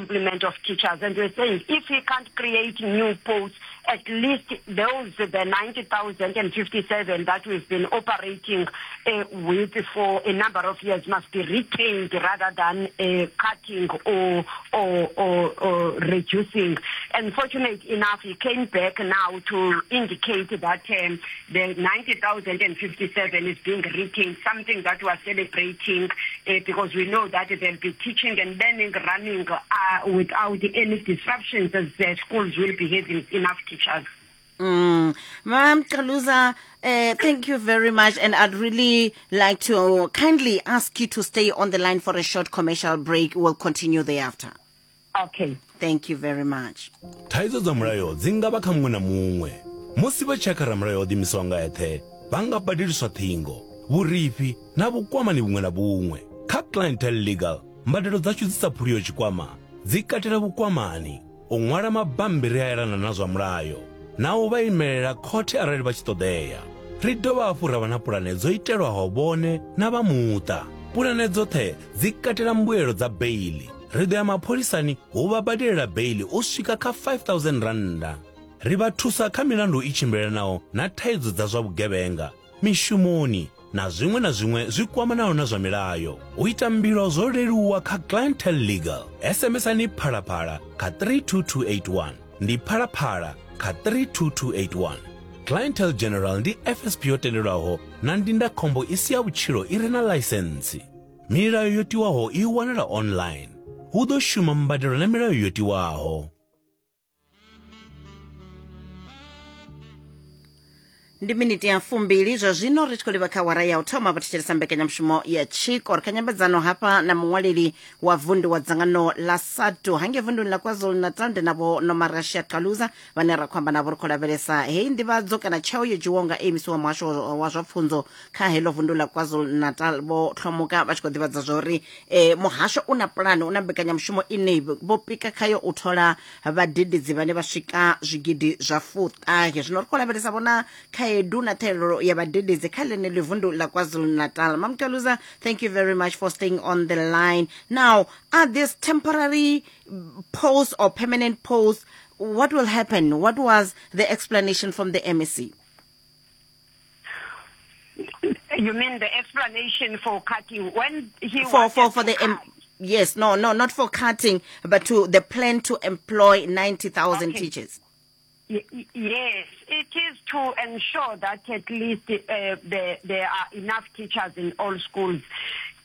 complement of teachers. And we're saying if he can't create new posts, at least those, the 90,057 that we've been operating uh, with for a number of years must be retained rather than uh, cutting or, or, or, or reducing. And fortunate enough, he came back now to indicate that um, the 90,057 is being retained, something that we are celebrating uh, because we know that they'll be teaching and learning, running uh, without any disruptions as the schools will be having enough teachers. Mm. Ma'am Caluza, uh, thank you very much. And I'd really like to kindly ask you to stay on the line for a short commercial break. We'll continue thereafter. Okay. Thank you very much. Thaidzo dza mulayo dzi nga vha kha muṅwe na muṅwe. Musi vha tshi ya kha ramulayo o ḓiimisaho nga eṱhe, vha nga badeliswa ṱhingo, vhurifhi na vhukwamani vhuṅwe na vhuṅwe. Kha Clientele Legal, mbadelo dzashu dzi sa phuliho tshikwama dzi katela vhukwamani, u ṅwala mabammbiri a elana na zwa mulayo, na u vha imelela khothe arali vha tshi ṱoḓea. Ri dovha hafhu ra vha na pulane dzo itelwaho vhone na vha muṱa. Pulane dzoṱhe dzi katela mbuelo dza beiḽi. Ri ḓo ya mapholisani u vha badelela beiḽi u swika kha R5000. Ri vha thusa kha milandu i tshimbilelanaho na thaidzo dza zwa vhugevhenga, mishumoni na zwiṅwe na zwiṅwe zwi kwamanaho na zwa milayo. U ita mbilo zwo leluwa kha Clientele Legal. SMS-ani Phalaphala kha 32281. Ndi Phalaphala kha 32281. Clientele General ndi FSP yo tendelwaho na ndindakhombo i si ya vhutshilo i re na ḽaisentsi. Milayo yo tiwaho i wanala online. Hu ḓo shuma mbadelo na milayo yo tiwaho. Ndi miniti ya fumbili zwa zwino ri tshi khou livha kha wara ya u thoma vha thetshelesa mbekanyamushumo ya tshiko. Ri kha nyambedzano hafha na muṅwaleli wa vundu wa dzangano ḽa SADTU hangei vunduni ḽa KwaZulu Natal, ndi navho Nomarashiya Caluza vhane ra khou amba navho. Ri khou lavhelesa heyi nḓivhadzo kana tsheo yo dzhiwaho nga AMC wa muhasho wa zwa pfunzo kha heḽo vundu ḽa KwaZulu Natal, vho Hlomuka vha tshi khou ḓivhadza zwa uri eh, muhasho u na pulane, u na mbekanyamushumo ine vho pika khayo u thola vhadededzi vhane vha swika zwigidi zwa fuṱahe. Zwino ri khou lavhelesa vhona khaedu na ṱhahelelo ya vhadededzi kha ḽeneḽi vundu ḽa KwaZulu-Natal. Mamkaluza, thank you very much for staying on the line. Now, are these temporary posts or permanent posts? What will happen? What was the explanation from the MEC? You mean the explanation for cutting when he for for wanted for to the cut? yes, no, no, not for cutting, but to the plan to employ 90,000 Okay. teachers. Yes, it is to ensure that at least there are enough teachers in all schools.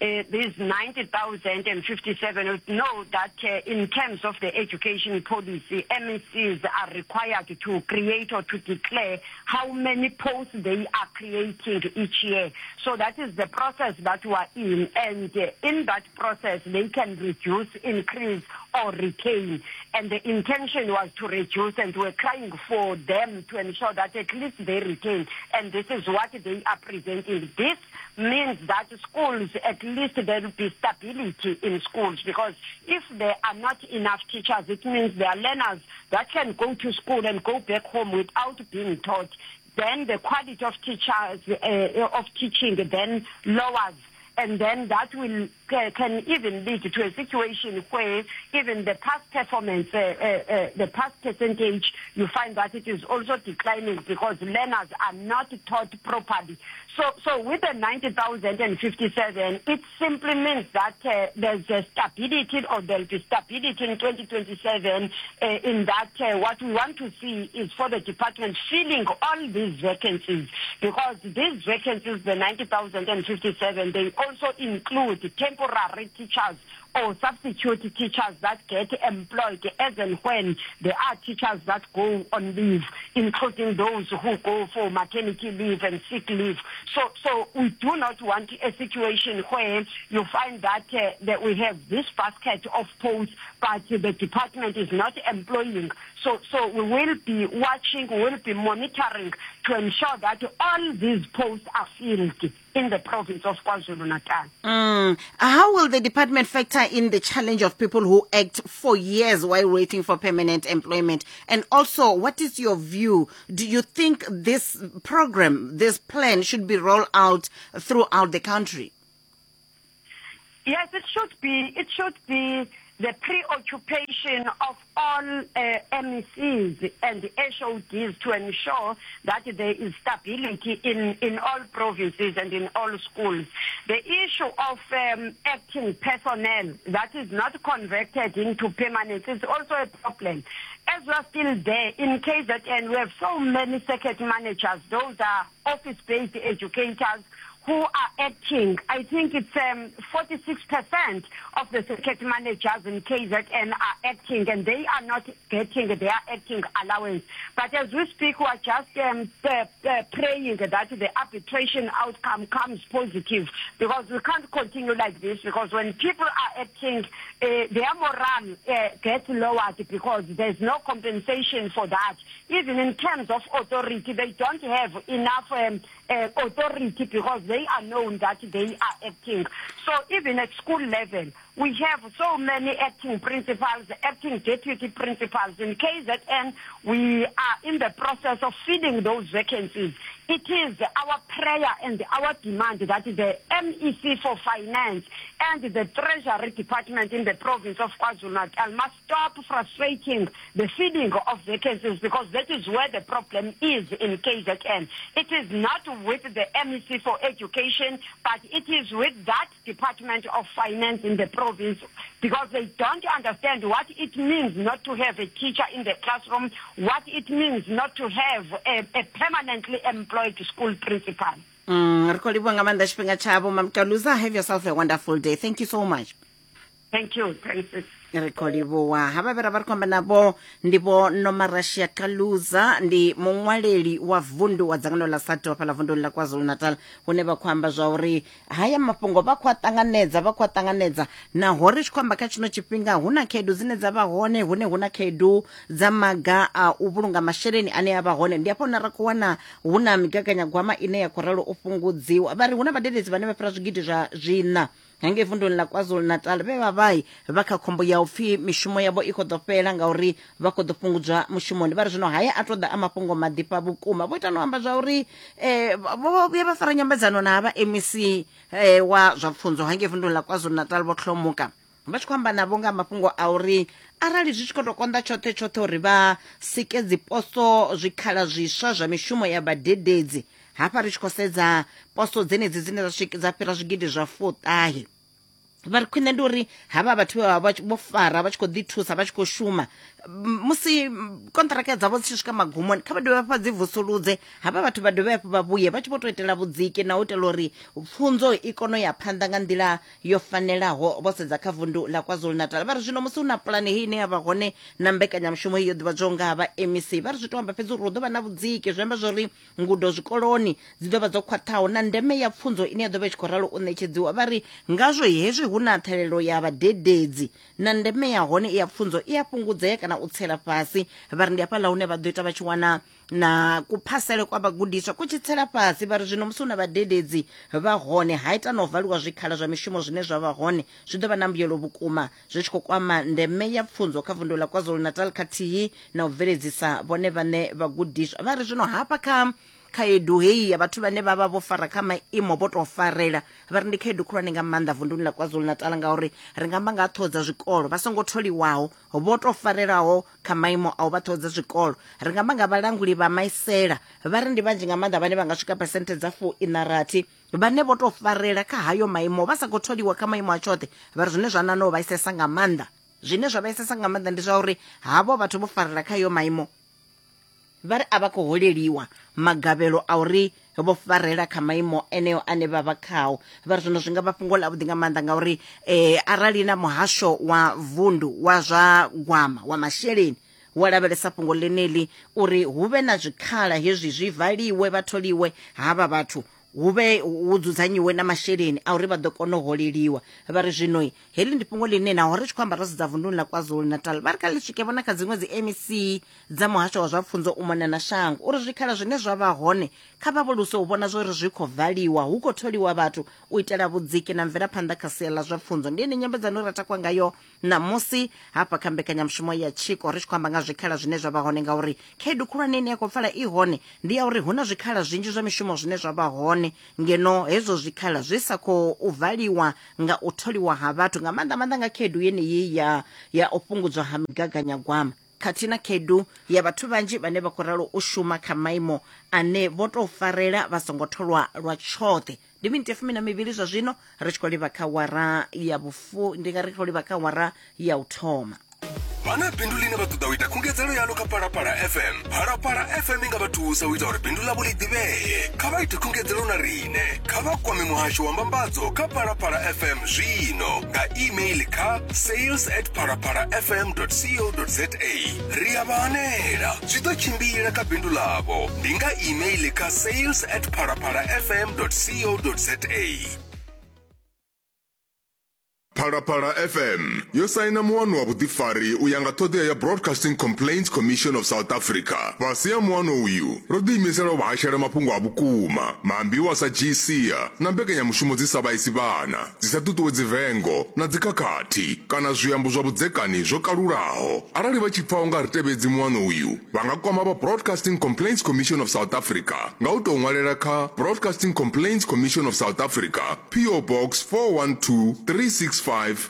These 90,057 know that in terms of the education policy, MECs are required to create or to declare how many posts they are creating each year. So that is the process that we are in, and in that process they can reduce, increase or retain. And the intention was to reduce, and we're crying for them to ensure that at least they retain. And this is what they are presenting. This means that schools, at least there will be stability in schools, because if there are not enough teachers, it means there are learners that can go to school and go back home without being taught. Then the quality of teachers, of teaching then lowers. And then that will can even lead to a situation where even the past performance, the past percentage, you find that it is also declining because learners are not taught properly. So with the 90,057, it simply means that there's a stability, or there'll be stability in 2027, in that what we want to see is for the department filling all these vacancies, because these vacancies, the 90,057, they also include temporary teachers or substitute teachers that get employed as and when there are teachers that go on leave, including those who go for maternity leave and sick leave. So we do not want a situation where you find that we have this basket of posts, but the department is not employing. So we will be watching, we will be monitoring to ensure that all these posts are filled in the province of KwaZulu-Natal. How will the department factor in the challenge of people who act for years while waiting for permanent employment? And also, what is your view? Do you think this program, this plan should be rolled out throughout the country? Yes, it should be. It should be The preoccupation of all MECs and HODs to ensure that there is stability in, in all provinces and in all schools. The issue of um, acting personnel that is not converted into permanent is also a problem. As we are still there, in KZN, we have so many circuit managers. Those are office-based educators who are acting. I think it's um, 46% of the circuit managers in KZN are acting and they are not getting their acting allowance. But as we speak, we are just um, uh, uh, praying that the arbitration outcome comes positive because we can't continue like this because when people are acting, uh, their morale uh, gets lowered because there's no compensation for that. Even in terms of authority, they don't have enough um, uh, authority because they are known that they are acting. So even at school level, we have so many acting principals, acting deputy principals. In KZN, we are in the process of filling those vacancies. It is our prayer and our demand that the MEC for Finance and the Treasury Department in the province of KwaZulu-Natal must stop frustrating the filling of vacancies because that is where the problem is in KZN. It is not with the MEC for Education, but it is with that Department of Finance in the province because they don't understand what it means not to have a teacher in the classroom, what it means not to have a, a permanently employed school principal. Mm, ri khou livhuwa nga maanḓa tshifhinga tshavho mamkaluza have yourself a wonderful day thank you so much Thank you. Thanks. Ri khou livhuwa havha vhe ra vha ri khou amba navho ndi vho Nomarashiya Caluza, ndi muṅwaleli wa vundu wa dzangano ḽa SADTU hafhaḽa vunduni ḽa KwaZulu-Natal, hune vha khou amba zwa uri haya mafhungo vha khou a ṱanganedza, vha khou a ṱanganedza naho ri tshi khou amba kha tshino tshifhinga hu na khaedu dzine dza vha hone, hune hu na khaedu dza maga a u vhulunga masheleni ane a vha hone. Ndi hafha hune ra khou wana hu na migaganyagwama ine ya khou ralo u fhungudziwa. Vha ri hu na vhadededzi vhane vha fhira zwigidi zwa zwiṋa Hangei vunduni ḽa KwaZulu-Natal vhe vha vha vha kha khombo ya u pfi mishumo yavho i khou ḓo fhela ngauri vha khou ḓo fhungudzwa mushumoni. Vha ri zwino haya a tou ḓa a mafhungo maḓifha vhukuma. Vho ita no amba zwa uri vho vhuya vha fara nyambedzano na vha MEC wa zwa pfunzo hangei vunduni ḽa KwaZulu-Natal Vho Hlomuka vha tshi khou amba navho nga mafhungo a uri arali zwi tshi khou tou konḓa tshoṱhe tshoṱhe uri vha sike dziposo zwikhala zwiswa zwa mishumo ya vhadededzi Hafha ri tshi khou sedza poso dzenedzi dzine dza swika dza fhira zwigidi zwa fuṱahe vha ri khwine ndi uri havha vhathu vhe vha vha vho fara vha tshi khou ḓi thusa vha tshi khou shuma musi konṱiraka dzavho dzi tshi swika magumoni kha vha dovhe hafhu vha dzi vusuludze havha vhathu vha dovhe hafhu vha vhuye vha tshi vho tou itela vhudziki na u itela uri pfunzo i kone u ya phanḓa nga nḓila yo fanelaho vho sedza kha vundu ḽa KwaZulu-Natal. Vha ri zwino musi hu na pulane heyi ine ya vha hone na mbekanyamushumo heyi yo ḓivhadzwaho nga ha vha MEC vha ri zwi tou amba fhedzi uri hu ḓo vha na vhudziki zwi amba zwori Ngudo zwikoloni dzi ḓo vha dzo khwaṱhaho na ndeme ya pfunzo ine ya ḓo vha i tshi khou ralo u ṋetshedziwa. Vha ri ngazwo hezwi hu na ṱhahelelo ya vhadededzi na ndeme ya hone ya pfunzo i a fhungudzea kana u tsela fhasi. Vha ri ndi hafhaḽa hune vha ḓo ita vha tshi wana na kuphasele kwa vhagudiswa ku tshi tsela fhasi. Vha ri zwino musi hu na vhadededzi vha hone ha ita na u valiwa zwikhala zwa mishumo zwine zwa vha hone zwi ḓo vha na mbuyelo vhukuma zwi tshi khou kwama ndeme ya pfunzo kha vundu ḽa KwaZulu-Natal khathihi na u bveledzisa vhone vhaṋe vhagudiswa. Vha ri zwino hafha kha khaedu heyi ya vhathu vhane vha vha vho fara kha maimo vho tou farela vha ri ndi khaedu khulwane nga maanḓa vunduni ḽa KwaZulu-Natal ngauri ri nga amba nga ha ṱhoho dza zwikolo vha songo tholiwaho vho tou farelaho kha maimo a u vha ṱhoho dza zwikolo. Ri nga amba nga vhalanguli vha maisela vha ri ndi vhanzhi nga maanḓa vhane vha nga swika phesenthe dza 60 Vhane vho tou farela kha hayo maimo vha sa khou tholiwa kha maimo a tshoṱhe vha ri zwine zwa ṋaṋa u vhaisesa nga maanḓa zwine zwa vhaisesa nga maanḓa ndi zwa uri havho vhathu vho farela kha hayo maimo vha ri a vha khou holeliwa magavhelo a uri vho farela kha maimo eneo ane vha vha khao. Vha ri zwino zwi nga vha fhungo ḽavhuḓi nga maanḓa ngauri arali na muhasho wa vundu wa zwa gwama wa masheleni wa lavhelesa fhungo ḽeneḽi uri hu vhe na zwikhala hezwi zwi valiwe vha tholiwe havha vhathu hu vhe hu dzudzanyiwe na masheleni a uri vha ḓo kona u holeliwa. Vha ri zwino heḽi ndi fhungo ḽine naho ri tshi khou amba ro sedza vunduni ḽa KwaZulu-Natal vha ri kha ḽi swike vhona kha dziṅwe dzi MEC dza muhasho wa zwa pfunzo u mona na shango uri zwikhala zwine zwa vha hone kha vha vholuse u vhona zwa uri zwi khou valiwa hu khou tholiwa vhathu u itela vhudziki na mvelaphanḓa kha sia ḽa zwa pfunzo. Ndi ene nyambedzano ra takwa ngayo Ṋamusi hafha kha mbekanyamushumo ya Tshiko ri tshi khou amba nga zwikhala zwine zwa vha hone ngauri khaedu khulwane ine ya khou pfala i hone ndi ya uri hu na zwikhala zwinzhi zwa mishumo zwine zwa vha hone. khulwane ngeno hezwo zwikhala zwi sa khou valiwa nga u tholiwa ha vhathu nga maanḓa maanḓa nga khaedu yeneyi ya ya u fhungudzwa ha migaganyagwama khathihi na khaedu ya vhathu vhanzhi vhane vha khou ralo u shuma kha maimo ane vho tou farela vha songo tholwa lwa tshoṱhe. Ndi miniti ya fumi na mivhili zwa zwino ri tshi khou livha kha wara ya vhufu ndi nga ri khou livha kha wara ya u thoma. Vha na bindu ḽine vha ṱoḓa u ita khungedzelo yaḽo kha Phalaphala FM? Phalaphala FM i nga vha thusa u ita uri bindu ḽavho ḽi ḓivhee. Kha vha ite khungedzelo na riṋe. Kha vha kwame muhasho wa mbambadzo kha Phalaphala FM zwino nga email kha sales at phalaphalafm.co.za. Ri a vha hanela. Zwi ḓo tshimbila kha bindu ḽavho. Ndi nga email kha sales at phalaphalafm.co.za. Phalaphala FM yo saina muano wa vhuḓifari u ya nga ṱhoḓea ya Broadcasting Complaints Commission of South Africa. Fhasi ha muano uyu, ro ḓiimisela u vha hashela mafhungo a vhukuma, maambiwa a sa dzhii sia na mbekanyamushumo dzi sa vhaisi vhana, dzi sa ṱuṱuwedzi vengo na dzikhakhathi kana zwiambo zwa vhudzekani zwo kalulaho. Arali vha tshi pfa u nga ri tevhedzi muano uyu, vha nga kwama vha Broadcasting Complaints Commission of South Africa nga u tou ṅwalela kha Broadcasting Complaints Commission of South Africa, PO Box 412365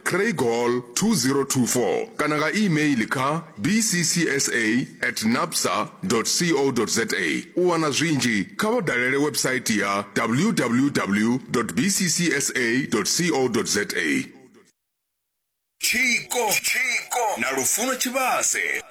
Craighall 2024 kana nga e-mail kha bccsa at nabsa co za. U wana zwinzhi kha vha dalele website ya www bccsa co za. Tshiko na Lufuno Tshivhase.